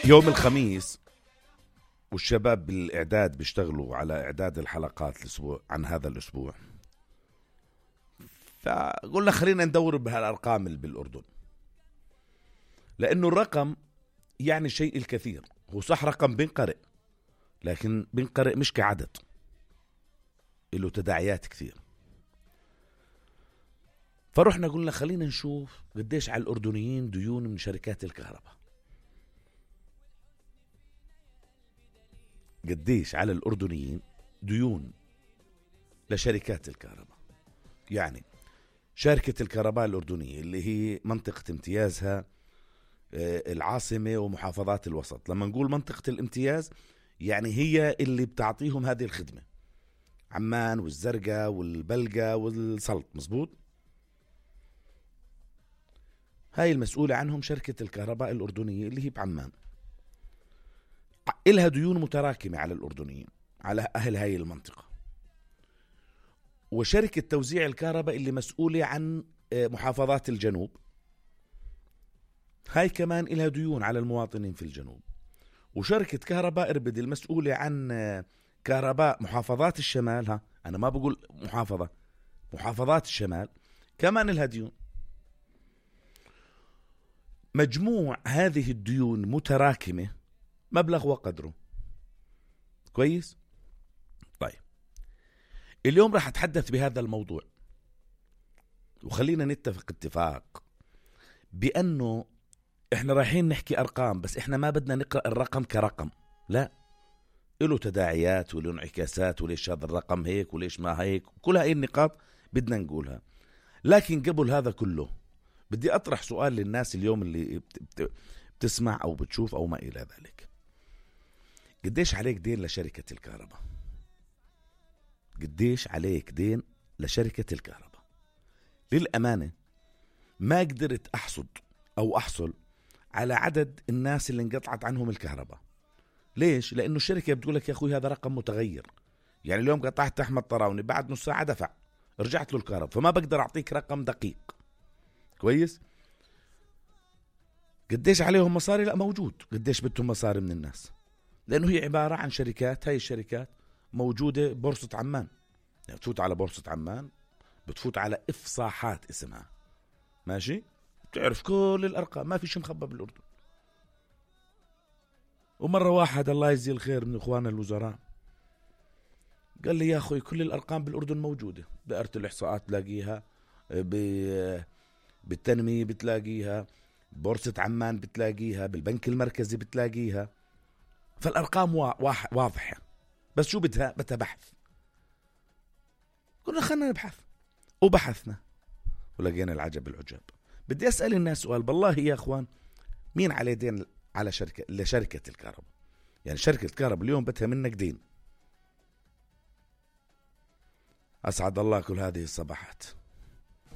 يوم الخميس والشباب بالإعداد بيشتغلوا على إعداد الحلقات الأسبوع عن هذا الأسبوع، فقلنا خلينا ندور بهالأرقام اللي بالأردن، لأنه الرقم يعني شيء الكثير. هو صح رقم بينقرئ، لكن بينقرئ مش كعدد، له تداعيات كثير. فرحنا قلنا خلينا نشوف قديش على الأردنيين ديون من شركات الكهرباء، قديش على الأردنيين ديون لشركات الكهرباء. يعني شركة الكهرباء الأردنية اللي هي منطقة امتيازها العاصمة ومحافظات الوسط. لما نقول منطقة الامتياز يعني هي اللي بتعطيهم هذه الخدمة، عمان والزرقاء والبلقاء والسلط، مزبوط. هاي المسؤولة عنهم شركة الكهرباء الأردنية اللي هي بعمان. إلها ديون متراكمة على الأردنيين، على أهل هاي المنطقة. وشركة توزيع الكهرباء اللي مسؤولة عن محافظات الجنوب، هاي كمان إلها ديون على المواطنين في الجنوب. وشركة كهرباء إربد المسؤولة عن كهرباء محافظات الشمال، ها أنا ما بقول محافظات الشمال كمان إلها ديون. مجموع هذه الديون متراكمة مبلغ وقدره. كويس؟ طيب اليوم راح أتحدث بهذا الموضوع، وخلينا نتفق اتفاق بأنه إحنا رايحين نحكي أرقام، بس إحنا ما بدنا نقرأ الرقم كرقم، لا، له تداعيات وله انعكاسات، وليش هذا الرقم هيك وليش ما هيك، كل هاي النقاط بدنا نقولها. لكن قبل هذا كله بدي أطرح سؤال للناس اليوم اللي بتسمع أو بتشوف أو ما إلى ذلك. قديش عليك دين لشركة الكهرباء؟ قديش عليك دين لشركة الكهرباء؟ للأمانة ما قدرت أحصل على عدد الناس اللي انقطعت عنهم الكهرباء. ليش؟ لأنه الشركة بتقولك يا أخوي هذا رقم متغير. يعني اليوم قطعت أحمد طراوني، بعد نص ساعة دفع، رجعت له الكهرباء، فما بقدر أعطيك رقم دقيق. كويس؟ قديش عليهم مصاري؟ لا، موجود قديش بدهم مصاري من الناس، لأنه هي عبارة عن شركات. هاي الشركات موجودة بورصة عمان، يعني تفوت على بورصة عمان بتفوت على إفصاحات اسمها، ماشي، بتعرف كل الأرقام، ما في شيء مخبى بالأردن. ومرة واحد الله يجزيه الخير من إخواننا الوزراء قال لي يا أخوي كل الأرقام بالأردن موجودة، بقرة الإحصاءات تلاقيها، بالتنمية بتلاقيها، بورصة عمان بتلاقيها، بالبنك المركزي بتلاقيها. فالأرقام واضحة، بس شو بدها بحث. قلنا خلنا نبحث، وبحثنا ولقينا العجب العجاب. بدي أسأل الناس سؤال بالله يا أخوان، مين عليه دين على لشركة الكهرباء؟ يعني شركة الكهرباء اليوم بدها منك دين. أسعد الله كل هذه الصباحات.